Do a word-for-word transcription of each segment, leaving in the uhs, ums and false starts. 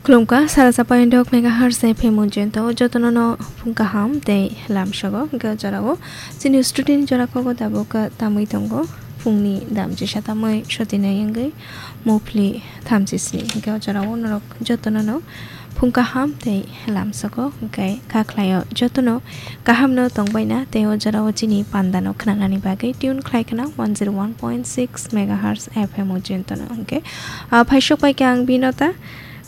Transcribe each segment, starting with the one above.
Khulumkha, sara chapayandok megahertz F M o jento jotono no phung kaham tei lamsogo. Hwnkhe o jorao chini student jora kogo tabuk tamwi tongo. Phungni dam jesa tamwi sotinai wngwi mopli thamchi sni. Hwnkhe o jorao norok jotono no phung kaham tei lamsogo. Hwnkhe kha khlaio jotono kaham no tongbaina tei o jorao chini panda no khnanani bagwi tune khlai khna one zero one point six megahertz F M o jento no. Hwnkhe, ah, phaisok pai khe ang Binota.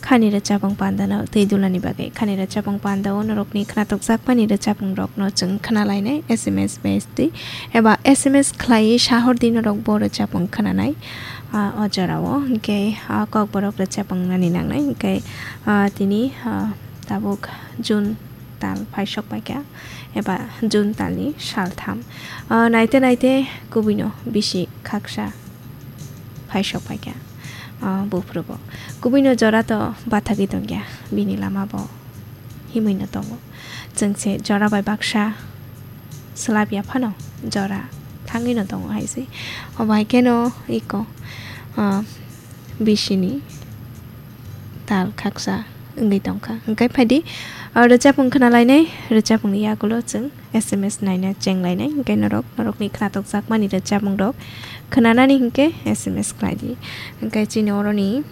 Khani rwchapung pandano tei dulani bagwi. Khani rwchapung pandao norokni khnatukjakmani rwchapungrokno chwng khnalainai S M S bai twi eba S M S khlaiwi sahordi norok bo rwchapung khnanai, ah, o jorao. Hwnkhe, ah, kokborok rwchapung nani nangnai. Hwnkhe, ah, tini, ah, tabuk June tal phaisok paikha eba June talni saltham. Ah, naite naite kubuino bisi khaksa phaisok paikha, ah, buphuru bo. Kubuino jora to bathagwi tongya, bini lama bo himwi no tongo. Chwng se jora bai baksa swlapya phano jora thangwi no tongo hai se. Obo hai kheno iko, ah, bisini tal khaksa wngwi tongkha. Hwnkhe phaidi, ah, rwchapung khnalainai, rwchapungni yagulo chwng S M S naina chenglainai, hwnkhe norok, norokni khnatukjakmani rwchapungrok khnanani hwnkhe S M S khlaidi. Hwnkhe chini oroni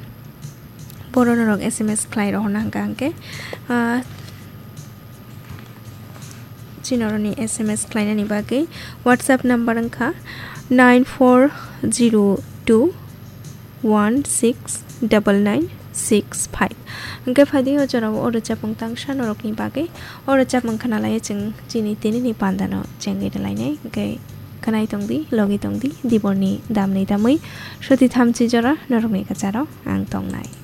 boro norok S M S khlai rohorna hwnkha hwnkhe, ah, chini oroni S M S khlainani bagwi WhatsApp number wngkha nine four zero two one six double nine six five. Hwnkhe phaidi o jorao o rwchapung tangsa norokni bagwi. O rwchapung khnalaiwi chwng chini tinini pandano chengwi rwlainai. Hwnkhe khwnai tongdi, logi tongdi, diborni damni damwi soti thamchi jora norokni kwcharo ang tongnai.